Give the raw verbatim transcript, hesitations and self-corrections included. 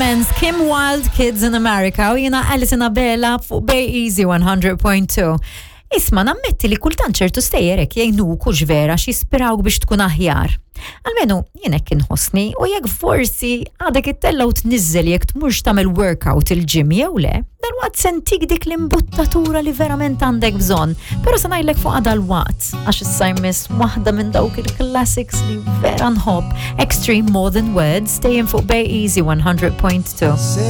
Clemens, Kim Wilde, Kids in America, u jiena Alison Abela fuq Bay Easy one hundred point two. Isma', nammetti li kultant ċertu stejjer hekk jgħinuk hux vera, jispirawk biex tkun aħjar. Almenu jien hekk inħossni, u jekk forsi għadek ittella' u tniżżel jekk tmurx tagħmel workout il-gym jew le, dalwaqt se ntik dik l-imbuttatura li verament għandek bżonn. Però se ngħidlek fuq dal-waqt, għax issa jmiss waħda minn dawk il-classics li vera nħobb. Extreme, More Than Words, staying fuq Bay Easy one hundred point two.